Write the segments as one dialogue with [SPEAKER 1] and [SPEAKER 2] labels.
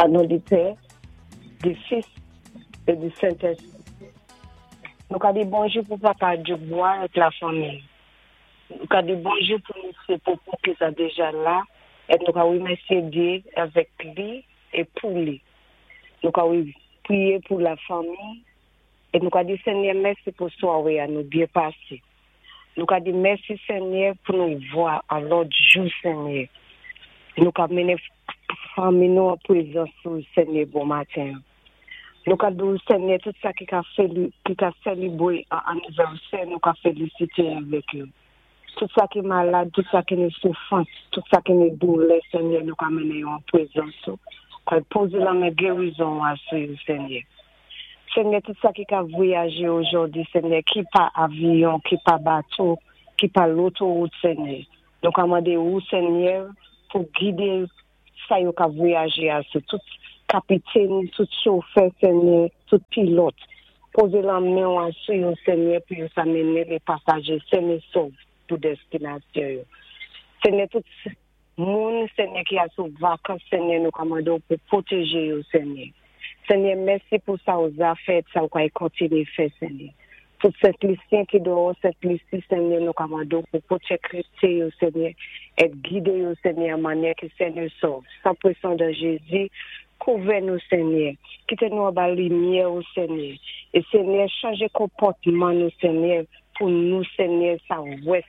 [SPEAKER 1] An non di Pè, di Fis é di Sentèspri. Nou ka di bonjou pou papa Djoukbwa ak lafanmi. Nou ka di bonjou pou misyé Popo ki sa déja la et nou ka wimèsyé Dyé avèk li é pou li. Nou ka priyé pou lafanmi et nou ka di Senyè mèsi pou swaré a nou byen pasé. Nou ka di mèsi Senyè pou nou vwa an lòt jou Senyè. Nou ka mennen fanmi nou an prezans ou Senyè bon maten an. Nou ka di w Senyè tout sa ki ka ki ka selebre an anivèsè nou ka felisite avèk yo. Tout sa ki malad, tout sa ki nan soufrans, tout sa ki nan doulè Senyè nou ka mennen yo an prezans ou. Ka poze lanmen gerizon ou a sou yo Senyè. Senyè tout sa ki ka vwayaje ojòdi Senyè ki pa avyon ki pa bato ki pa lotowout Senyè nou ka mande ou Senyè pou gide sa yo ka vwayaje a sou tout kapitèn tout chofè Senyè tout pilòt poze lanmen ou a sou yo Senyè pou yo sa mennen le pasaje sen e sov pou destinasyon yo Senyè tout Moun, Senyè, ki al sou vakans, Senyè, nou ka mande w pou pwoteje yo, Senyè. Senyè, mèsi pou sa ou za fè et sa ou kay kontinye fè, Senyè. Tout Sent Lisyen ki dòwò Sent Lisi, Senyè, nou ka mande w pou pwotekte yo, Senyè, et gide yo, Senyè, an manyè ki sen e sov. San presyon de Jezi, kouvè nou, Senyè. Kite nou anba limyè ou, Senyè. E Senyè, chanje konpòtman nou, Senyè, pou nou, Senyè, sa wès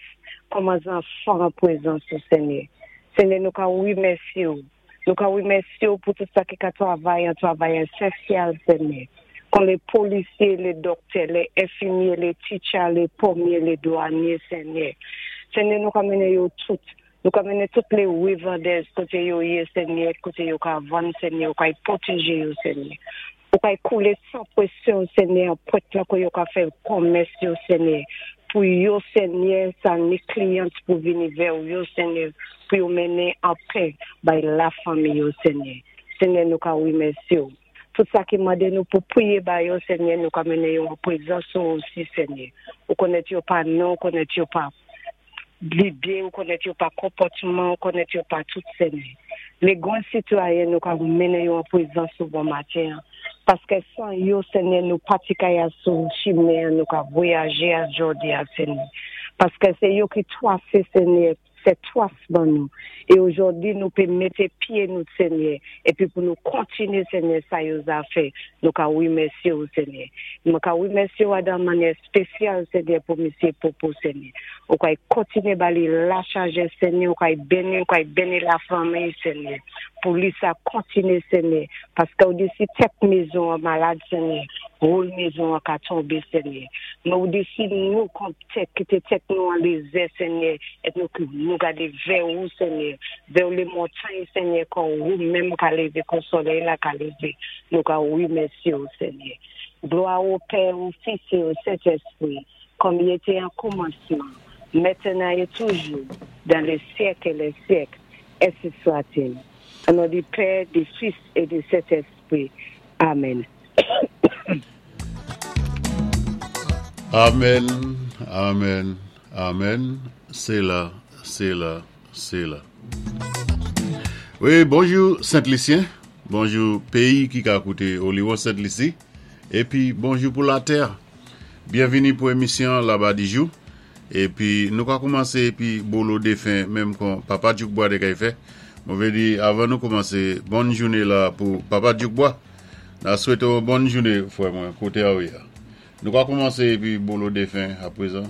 [SPEAKER 1] kòman zanfan an prezans ou, Senyè. Senyè, nou ka wimèsye ou. Nou ka wimèsye ou pou tout sa ki ka travay an travay esansyèl, Senyè. Kon lé polisyé, lé dòktè, lé enfimyé, lé teacher, lé ponmyé, lé dwanyé, Senyè. Senyè, nou ka mennen yo tout. Nou ka mennen tout lé revandèz koté yo yé, Senyè, koté yo ka vann, Senyè, ou ka pwotéjé yo, Senyè. Ou ka koulé san pwésyon, Senyè, an pwèt lan ko yo ka fè komès yo, Senyè. Pou yo, Senyè, sa ni kliyan pou vini vè ou yo, Senyè, pou yo mennen an pè bay lafanmi yo, Senyè. Senyè, nou ka wimèsye ou. Tout sa ki mande nou pou priyé ba yo, Senyè, nou ka mennen yo an prezans ou osi, Senyè. Ou konnèt yo pa non, ou konnèt yo pa lide, ou konnèt yo pa konpòtman, ou konnèt yo pa tout, Senyè. Lé gran sitwayen nou ka mennen yo an prezans ou bon maten. Paské san yo, Senyè, nou pati kay a sou chimen, nou ka vwayajé a jòdi a, Senyè. Paské sé yo ki twasé, Senyè, sé twas ban nou. É ojòdi nou pé mété pyé nou, Senyè, épi pou nou kontinyé, Senyè, sa yo za fè, nou ka wimèsyé ou, Senyè. Mwen ka wimèsyé ou a dan manyè spesyal, Senyè, pou misyé Popo, Senyè. Ou kay kontinyé ba li la sajès, Senyè, ou kay béni, ou kay béni lafanmi, Senyè. Pou li sa kontinyé, Senyè. Paské ou di si tèt mezon an malad, Senyè, woul mezon an ka tonbé, Senyè. Men ou di si nou kon tèt, kité tèt nou an lézè, Senyè, et nou, nou gadé vè ou, Senyè, vè lé montay, Senyè, kon ou menm ka lévé, kon solèy la ka lévé, nou ka wimèsyé ou, Senyè. Glwa o Pè, o Fis é o Sentèspri, kòm i été an kòmansman, mentenan é toujou, dan lé syèk é lè syèk, ensi swa-t-il. O non di Pè, di Fis é di Sentèspri. Amèn.
[SPEAKER 2] Amen, amen, amen, Séla, Séla, Séla. Wi, bonjou Sent Lisyen, bonjou péyi ki ka kouté Oliwon Sent Lisi, épi bonjou pou latè. Byenvini pou émisyon Laba Dijou. Épi nou ka koumansé épi bolo défen menm kon Papa Djoukbwa té kay fè. Mwen vlé di avan nou koumansé, bòn jouné la pou Papa Djoukbwa. Na swété w bòn jouné frè mwen koté a ou yé a. Nou ka koumansé épi bolo défen aprezan.